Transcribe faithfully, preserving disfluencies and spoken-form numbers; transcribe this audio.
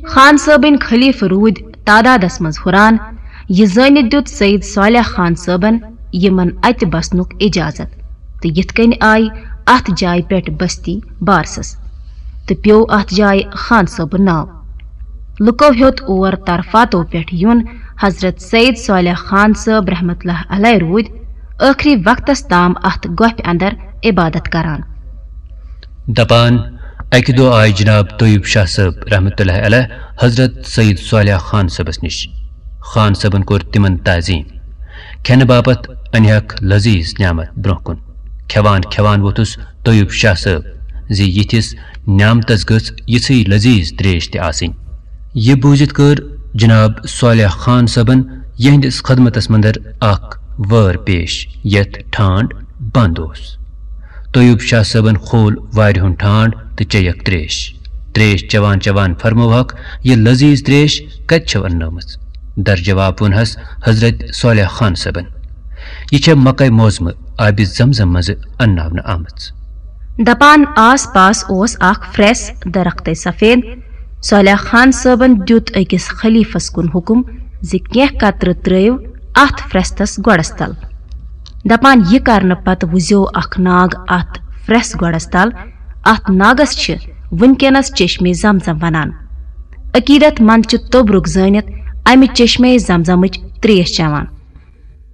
خان صٲبٕنۍ خلیفہٕ روٗدۍ تعدادس منٛز ہُران۔ یہِ زٲنِتھ دیُت سید صالح خان صٲبن یِمن اتہِ بسنُک اجازت، تہٕ یِتھ کٔنۍ آیہِ اتھ جایہِ پٮ۪ٹھ بستی بارسس، تہٕ پیوٚو اتھ جایہِ خان صٲبُن ناو۔ لُکو ہیوٚت اور طرفاتو پٮ۪ٹھ یُن۔ حضرت سید صالح خان صٲب رحمت اللہ علیہ روٗدۍ ٲخری وقتس تام اتھ گۄپھِ اندر عبادت کران۔ دپان، اکہِ دۄہ آے جناب طیوب شاہ صٲب رحمت اللہ علیہ حضرت سید صالح خان صٲبس نِش۔ خان صٲبن کوٚر تِمن تعظیم۔ کھٮ۪نہٕ باپتھ انہکھ لذیذ نعمت برونٛہہ کُن۔ کھٮ۪وان کھٮ۪وان ووٚتھُس طیوب شاہ صٲب زِ یِتھِس نعمتس گٔژھ یِژھٕے لذیذ تریش تہِ آسٕنۍ۔ یہِ بوٗزِتھ کٔر جناب صالح خان صٲبن یِہنٛدِس خدمتس مندر اکھ وٲر پیش، یتھ ٹھانڈ بند اوس۔ طیوب شاہ صٲبن کھول وارِ ہُنٛد ٹھانڈ تہٕ چیٚیکھ تریش۔ تریش چٮ۪وان چٮ۪وان فرمووہکھ، "یہِ لذیذ تریش کتہِ چھو اننٲومٕژ؟" در جواب ووٚنہس حضرت صالح خان صٲبن، "یہِ چھےٚ مکہ معظمہٕ آبِ زمزم منٛزٕ انناونہٕ آمٕژ۔" دپان آس پاس اوس اکھ پھرٛس درختَے سفید۔ صالح خان صٲبن دیُت أکِس خلیفس کُن حُکم زِ کینٛہہ قطرٕ ترٲیِو اتھ پھرٛستس گۄڈس تل۔ دپان، یہِ کرنہٕ پتہٕ وُزیو اکھ ناگ اتھ پھرٛس گۄڈس تل۔ اتھ ناگس چھِ وُنکیٚنس چشمے زمزم ونان۔ عقیدت مند چھِ توٚبرُک زٲنِتھ امہِ چشمے زمزمٕچ تریش چٮ۪وان۔